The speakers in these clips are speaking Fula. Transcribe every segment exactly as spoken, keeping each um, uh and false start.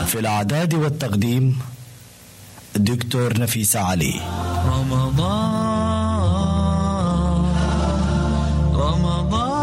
في الإعداد والتقديم دكتور نفيسة علي. رمضان، رمضان.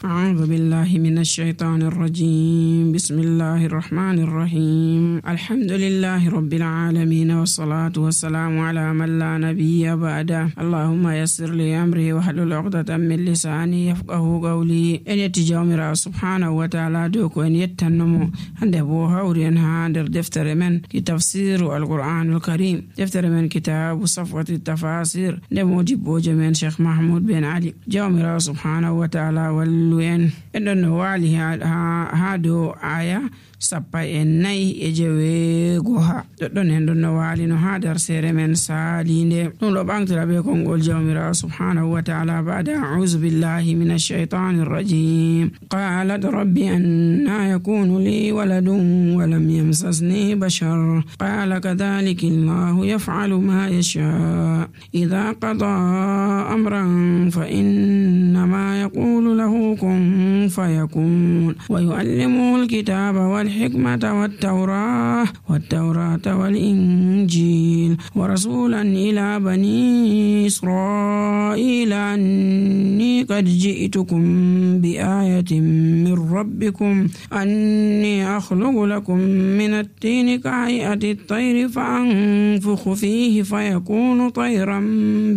أعوذ بالله من الشيطان الرجيم. بسم الله الرحمن الرحيم. الحمد لله رب العالمين، والصلاة والسلام على من لا نبي بعده. اللهم يسر لي أمري واحلل عقدة من لساني يفقهوا قولي. En yetti Jawmiraawo subhaanahu wa ta'ala dow ko en yettanno mo. Hannde bo hawri en haa nder deftere men ki tafsiru Alqur'aanul Kariim. Deftere men kitaabu Safwati Tafasir, nde moodibboojo men Sheikh Mahmoud Ben Ali. Jawmiraawo subhaanahu wa ta'ala wallu en. En ɗon no waali haa, haa, haa dow aaya sappo e nayi e jeweego ha. Ɗoɗɗon en ɗon no waalino haa darseere men saaliinde. Ɗum ɗo ɓaŋtira be konngol Jawmiraawo subhaanahu wa ta'ala ba'da a'uuzu billahi minash shaytaanir rajiim. قالت رب أنى يكون لي ولد ولم يمسسني بشر قال كذلك الله يفعل ما يشاء إذا قضى أمرا فإنما يقول له كن فيكون ويعلمه الكتاب والحكمة والتوراة والتوراة والإنجيل ورسولا إلى بني إسرائيل أني قد جئتكم بآية من ربكم أني أخلق لكم من الطين كهيئة الطير فأنفخ فيه فيكون طيرا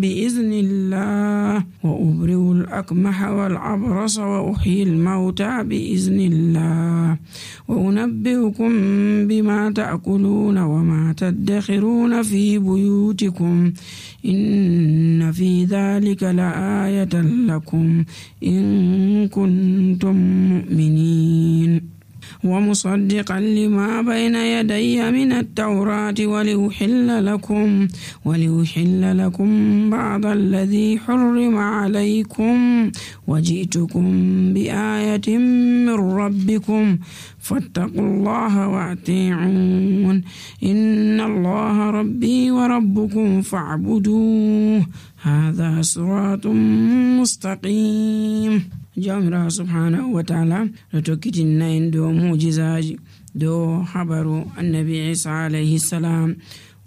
بإذن الله وأبرئ الأكمه والأبرص وأحيي الموتى بإذن الله وأنبئكم بما تأكلون وما تدخرون في بيوتكم إن في ذلك لآية لكم إن كنتم مؤمنين ومصدقا لما بين يدي من التوراة ولأحل لكم ولأحل لكم بعض الذي حرم عليكم وجئتكم بآية من ربكم فاتقوا الله وأطيعون إن الله ربي وربكم فاعبدوه هذا صراط مستقيم. Jawmiraawo subhaanahu wa ta'ala no tokkitinna en dow mu'jizaaji, dow habaru Annabi Iisa alayhi salaam.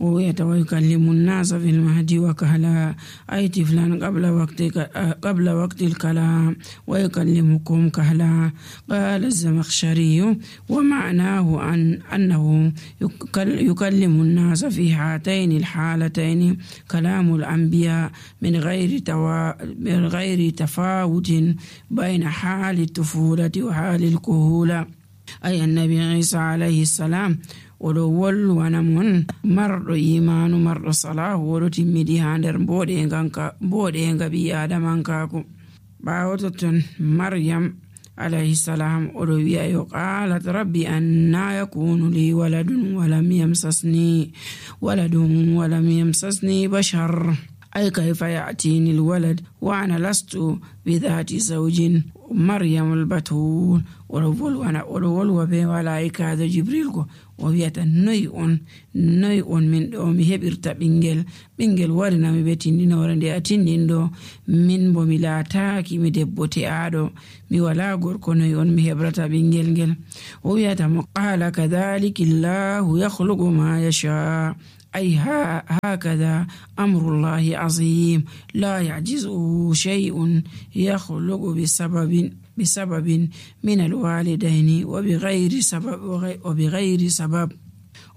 O wi'ata, "ويكلم الناس في المهد وكهلا." Ay tiflan qabla waqti ka-, qabla waqtil kalaam. "ويكلمكم كهلا." قال الزمخشري: "ومعناه أن، أنه يكل-، يكلم الناس في هاتين الحالتين كلام الأنبياء من غير توا-، من غير تفاوت بين حال الطفولة وحال الكهولة." Ay Annabi Iisa alayhi salaam, o ɗo wolwana mon marɗo iimaanu, marɗo salaahu, o ɗo timmidi haa nder mbooɗeeŋga ka-, mbooɗeeŋga ɓii Aadamankaaku. Ɓaawo totton, Maryam alayhi salaam, o ɗo wi'a yo, "قالت رب أنى يكون لي ولد ولم يمسسني، ولد ولم يمسسني بشر." Ay, "كيف يأتيني الولد وأنا لست بذات زوج." Maryamul Batuul, o ɗo wolwana, o ɗo wolwa be malaa'ikaajo Jibril go. O wi'ata, "Noy on, noy on min ɗo mi heɓirta ɓiŋngel? Ɓiŋngel warina mi be tinndinoore nde a tinndinɗo. Min bo mi laataaki mi debbo te'aaɗo. Mi walaa gorko, noy on mi heɓrata ɓiŋngel ngel?" O wi'ata mo, "قال كذلك الله يخلق ما يشاء." Ay, ha-, هكذا أمر الله عظيم لا يعجزه شيء يخلق بسبب، بسبب من الوالدين وبغير سبب، وبغير سبب.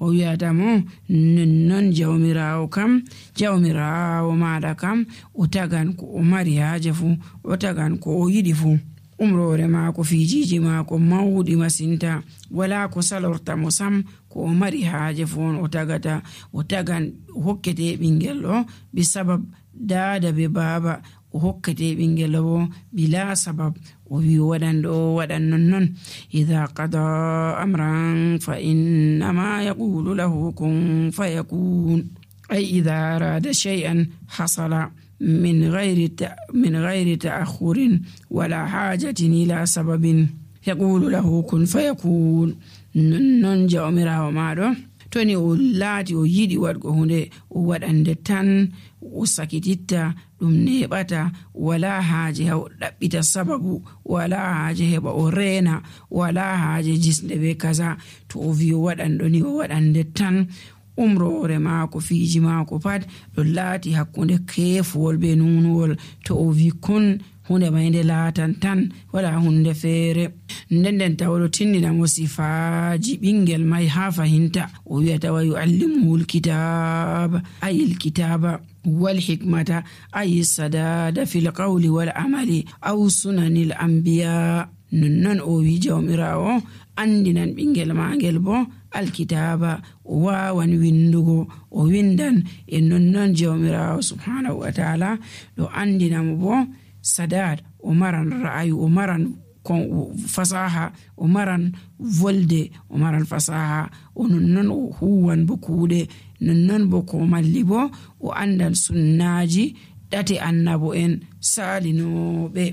O wi'ata mo, "Nonnon Jawmiraawo kam, Jawmiraawo maaɗa kam, o tagan ko o mari haaje fuu, o tagan ko o yiɗi fuu. Umroore maako, fiijiiji maako mawɗi masinta, walaa ko salorta mo sam. Ko o mari haaje fuu on o tagata, o tagan, o hokkete ɓiŋngel ɗo bi sabab daada be baaba, o hokkete ɓiŋngel ɗo bo bilaa sabab." O wi'i o waɗan ɗo, o waɗan nonnon. "إذا قضى أمرا فإنما يقول له كن فيكون." Ay, "إذا أراد شيئا حصل من غير ت-، من غير تأخر ولا حاجة إلى سبب." "يقول له كن فيكون." Non, non Jawmiraawo ma ɗo To ni o laati o yiɗi waɗgo huunde, o waɗan nde tan, o sakititta, ɗum neeɓata, walaa haaje ha o ɗaɓɓita sababu, walaa haaje heɓa o reena, walaa haaje jisnde be kaza. To o wi o waɗan ɗo ni, o waɗan nde tan. Umroore maako, fiiji maako pat ɗo laati hakkunde keefuwol be nuunuwol. To o wi kun, huunde may nde laatan tan, walaa huunde feere. Nden nden tawa ɗo tindina mo sifaaji ɓingel may haa fahinta. O wi'ata: "Wa yu'allimuhul kitaaba, ayil kitaaba, wal hikmata, ayi sadaada fil qawli wal amali, aw sunanil anbiya." Nonnon o wi Jawmiraawo andinan ɓingel maagel bo alkitaaba, o waawan windugo, o windan. E nonnon Jawmiraawo subhaanahu wa taala ɗo andina mo bo sadaad, o maran ra'ayu, o maran kon, fasaha, o maran volde, o maran fasaha, o nonnon o huwan bo kuuɗe, nonnon bo ko malli bo o andan sunnaaji ɗate annabo en saalinooɓe.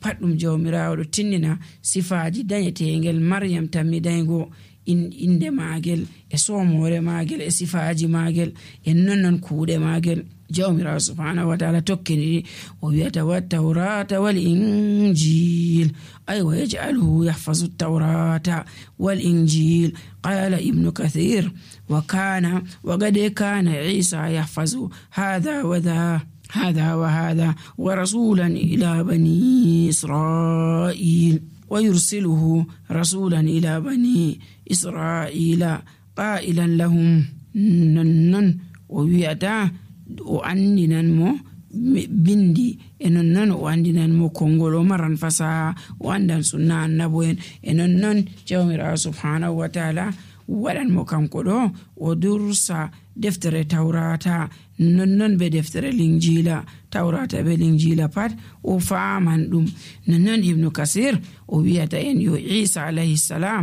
Pat ɗum Jawmiraawo ɗo tinnina sifaaji dañeteengel Maryam tammi daygo, in-, innde maagel, e soomoore maagel, e sifaaji maagel, e nonnon kuuɗe maagel. Jawmiraawo subhaanahu wa taala tokkini ɗi, o wi'ata: "Wa tawrata wal injil." Ay, "Wa yaj'aluhu yahfazu tawrata wal injil." Qala Ibnu Kathir: "Wa kana, wa qad kana Isa yahfazu hadha wa dha, hadha wa hadha, wa rasulan ila bani Israil, wa yursiluhu rasulan ila bani Israila, qailan lahum." Nonnon o wi'ata, o andinan mo mi-, bindi, e nonnon o andinan mo konngol, o maran fasaha, o andan sunna annabo en. E nonnon Jawmiraawo subhaanahu wa taala waɗan mo kanko ɗo, o dursa deftere Tawrata, nonnon be deftere Linjiila. Tawrata be Linjiila pat o faaman ɗum. Nonnon Ibnu Kasir o wi'ata en yo Isa alayhi salam